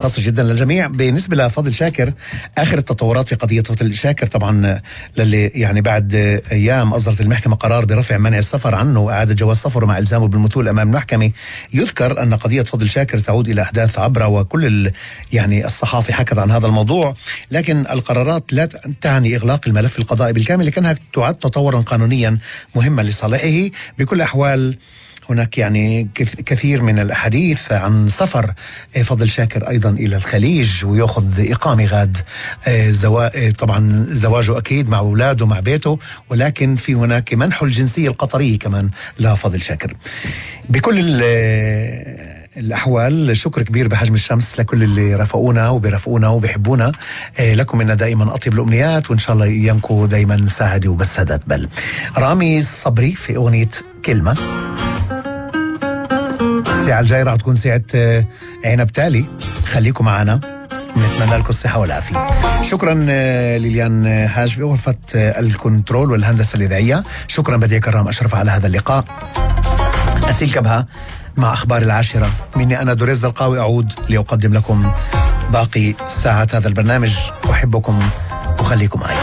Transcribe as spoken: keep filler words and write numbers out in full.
خاصة جدا للجميع. بالنسبة لفضل شاكر، آخر التطورات في قضية فضل شاكر طبعا للي يعني بعد أيام أصدرت المحكمة قرار برفع منع السفر عنه وإعادة جواز سفره مع إلزامه بالمثول أمام المحكمة. يذكر أن قضية فضل شاكر تعود إلى أحداث عبرة، وكل يعني الصحافة حكت عن هذا الموضوع، لكن القرارات لا تعني إغلاق الملف القضائي بالكامل، لكنها تعد تطورا قانونيا مهما لصالحه. بكل أحوال هناك يعني كثير من الأحاديث عن سفر فضل شاكر أيضا إلى الخليج ويأخذ إقامة غاد زوا... طبعا زواجه أكيد مع أولاده مع بيته، ولكن في هناك منح الجنسية القطرية كمان لفضل شاكر. بكل الأحوال شكر كبير بحجم الشمس لكل اللي رافقونا وبيرافقونا وبيحبونا. لكم منا دائما أطيب الأمنيات، وإن شاء الله أيامكم دائما سعادة وبسادات بل. رامي صبري في أغنية كلمة. الساعة الجاية راح تكون ساعة عنب تالي، خليكم معنا، نتمنى لكم الصحة والعافية. شكرا ليليان هاج في غرفة الكنترول والهندسة الإذاعية. شكرا بديع كرام أشرف على هذا اللقاء. أسيل كبها مع أخبار العاشرة، مني أنا دوريز القاوي أعود لأقدم لكم باقي ساعات هذا البرنامج. أحبكم وخليكم معي.